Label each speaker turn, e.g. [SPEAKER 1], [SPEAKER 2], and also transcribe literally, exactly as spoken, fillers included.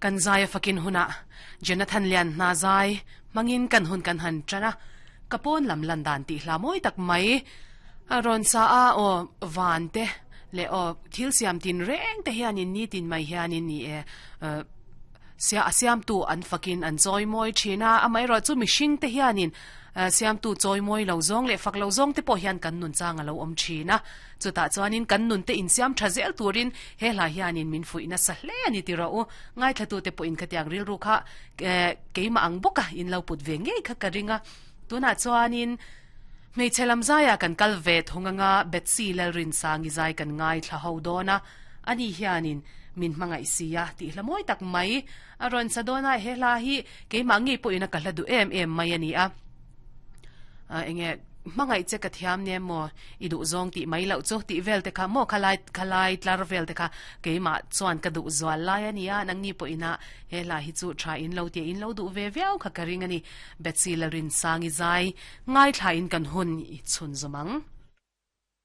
[SPEAKER 1] Kan zai a fakin hunah Jonathan Lian hna zai hmangin kan hun kan han tan a, ka pawn lam lan dan tih hla mawi tak mai a rawn sa a, aw van te leh aw thil siam tin reng te hianin nitin mai hianin ni e sia a siamtu an fakin an chawi mawi thin a, amaherawhchu mihring te hianin Siamtu chawimawi lo zawng leh fak lo zawng te pawh hian kan nun chang a lo awm thin a. Chutah chuanin kan nun te insiam tha zel turin he hla hianin min fuih nasa hle a ni ti rawh u. Ngaithlatute pawhin khatiang rilru kha keimah ang bawka in lo put ve ngei kha ka ring a. Tunah chuanin hmeichhe lam zaiah kan kal ve thung anga Betsy Lalrinsangi zai kan ngaithla ho dawn a. Ani hianin min hmangaih si a tih hla mawi tak mai a rawn sa dawn a, he hla hi keimah ngei pawhin a ka hla duh em em mai a ni a. Enge hmangaih che ka thiam nia maw i duh zawng tih mai loh chu tih vel te kha maw khalai khalai tlar vel te kha keimah chuan ka duh zual lai a ni a, nangni pawhin a he hla hi chu tha in lo tia in lo duh ve viau kha ka ring a ni. Betsy Lalrinsangi zai ngaithlain kan hun i chhun zawm ang.